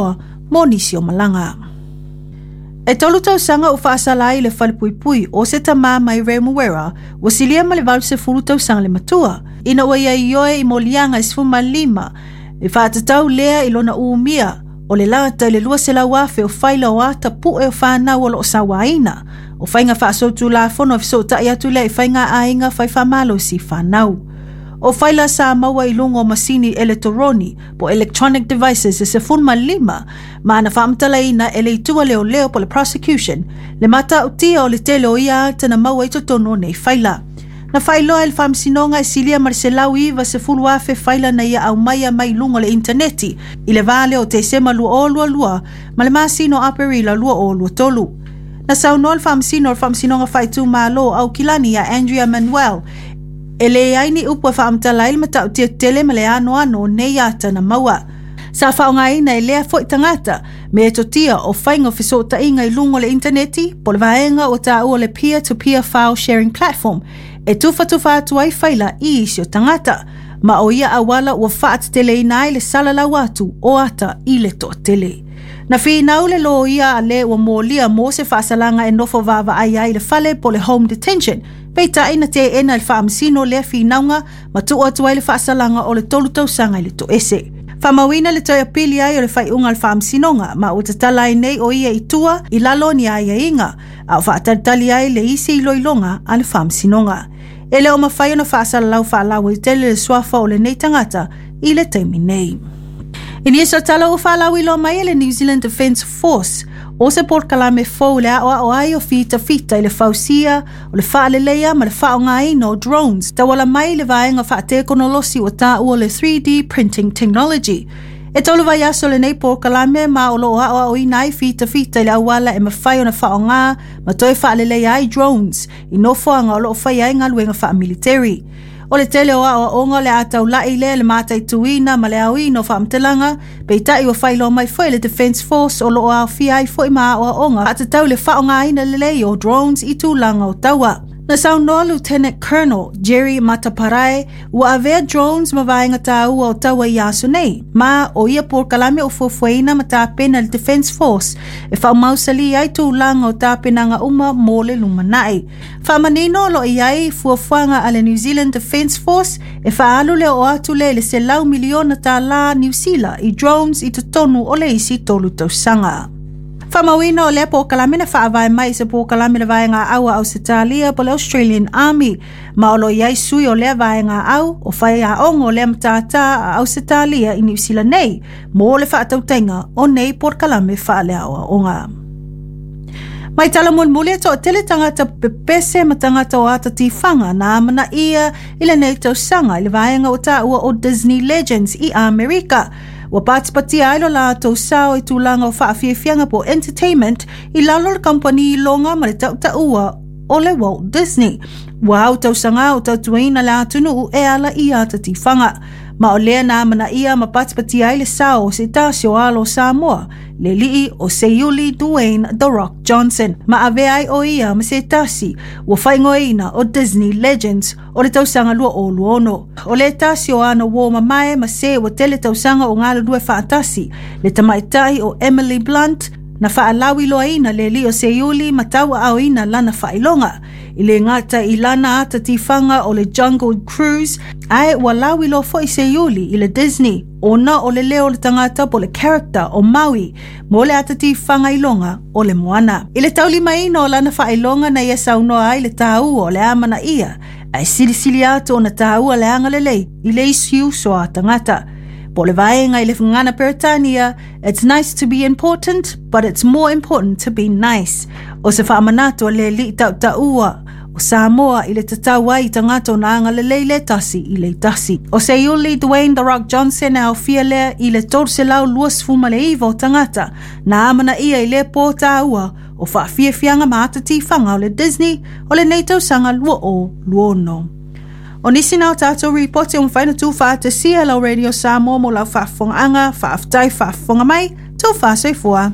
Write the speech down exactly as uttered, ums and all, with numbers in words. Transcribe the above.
avanoa mo nisi o malaga. E tolu tausaga ua faasala ai le falepuipui o se tamā mai Remuera ua silia ma le valu sefulu tausaga le matua ina ua ia ioe i moliaga e sefulumalima e faatatau lea i lona umia o le lata i le lua selau afe o faila o ata pu'e o fanau o loo sauaina. O faiga faasolitulafono e fesoota'i atu lea i faiga aiga faifamalosi fanau. O faila sa maua i luga o masini eletoroni po electronic devices e sefulu ma lima, ma na faamatalaina e le itu a leoleo po le prosecution le matautia o le tele o ia ata na maua i totonu o nei faila. Na faailoa e le faamasinoga e silia ma le selau iva sefulu afe faila na ia aumaia mai luga o le initaneti i le va lea o Tesema lua o lua lua ma le masina o Aperila lua o lua tolu. Na saunoa le faamasino o le Faamasinoga Faaitumalo o Aukilani ia Andrea Manuel e leai ni upu e faamatala ai le matautia tele ma le anoano o nei ata na maua. Sa faaaogaina e lea foi tagata metotia o faiga o fesootaiga i luga o le initaneti po le vaega ua taua le peer-to-peer file sharing platform e tufatufa atu ai faila i isi o tagata, ma o ia auala ua faateteleina ai le salalau atu o ata i le toatele. Na finau le loia a le ua molia mo se faasalaga e nofo vaavaai ai le fale po le home detention, peitai na teena e le faamasino lea finauga ma tuu atu ai le faasalaga o le tolu tausaga i le toese. Faamauina le toe apili ai o le faaiuga a le faamasinoga ma ua tatala ai nei o ia i tua i lalo o ni aiaiga, a o faatalitali ai le isi iloiloga a le faamasinoga. E le o mafai ona faasalalau faalauaitele le suafa o lenei tagata i le taimi nei. I nisi o tala ua faalauiloa mai e le New Zealand Defence Force o se polokalame fou le aoao ai o fitafita i le fausia o le faaleleia ma le faaaogaina o drones tauala mai le vaega faatekonolosi ua taua le three D printing technology. E tolu vaiaso lenei polokalame ma o loo aoaoina ai fitafita i le auala e mafai ona faaaoga ma toe faaleleia ai drones i nofoaga o loo faia ai galuega faamiliteri. O le tele o aoaoga le a taulai lea le mataituina ma le aoina o faamatalaga, peitai ua faailoa mai foi le Defence Force o loo aofia ai foi ma aoaoga faatatau le faaaogaina lelei o drones i tulaga o taua. Na saunoa Lieutenant Colonel Jerry Mataparae ua avea drones ma vaega taua o taua i aso nei, ma o ia polokalame o fuafuaina ma tapena le Defence Force e faamausali ai tulaga o tapenaga uma mo le lumanai. Faamanino o loo i ai fuafuaga a le New Zealand Defence Force e faaalu le oo atu lea i le selau miliona tālā Niu Sila i drones i totonu o le isi tolu tausaga. Faamauina o lea polokalame na faavae mai i se polokalame le vaega au a Ausetalia po le Australian Army, ma o lo i ai sui o lea vaega au o faiaoga o lea matata a Ausetalia i Niu Sila nei mo le faatautaiga o nei polokalame faaleaoaoga. Mai tala mulimuli e toatele tagata pepese ma tagata o ata tifaga na amanaia i lenei tausaga i le vaega ua taua o Disney Legends i Amerika. Ua patipatia ai lo latou sao i tulaga o faafiafiaga po entertainment i lalo o le kampani iloga ma le tautaua o le Walt Disney. Ua au tausaga o tautuaina le atunuu e ala i ata tifaga. Ma o lea na amanaia ma patipatia ai le sao o se tasi o alo o Samoa, le alii o Seiuli Dwayne The Rock Johnson, ma avea ai o ia ma se tasi ua faaigoaina o Disney Legends o le tausaga lua o lua ono. O le tasi o ana uō mamae ma se ua tele tausaga o galulue faatasi, le tamaitai o Emily Blunt, na faalauiloaina le alii o Seiuli ma tauaaoina lana faailoga. I le gata i lana ata tifaga o le Jungle Cruise, ae ua lauiloa foi Seiuli i le Disney, ona o le leo o le tagata po le character o Maui mo le ata tifaga iloga o le Moana. I le taulimaina o lana faailoga na ia saunoa ai le taua o le amanaia, ae silisili atu ona taua le agalelei i le isi uso a tagata. Po le vaega i le gagana Peretania, it's nice to be important, but it's more important to be nice. O se faamanatu a le alii tautaua o Samoa i le tatau ai i tagata ona agalelei le tasi i le tasi. O Seiuli Dwayne The Rock Johnson e aofia lea i le tolu selau luasefulu ma le iva o tagata na amanaia i le pō taua o faafiafiaga ma ata tifaga o le Disney o lenei tausaga lua o lua ono. O nisi na o tātou ripoti o mawhai na tū whaatasia lau Radio Samoa mo lau faafofogaaga, faafetai faafofoga mai, taufa soifua.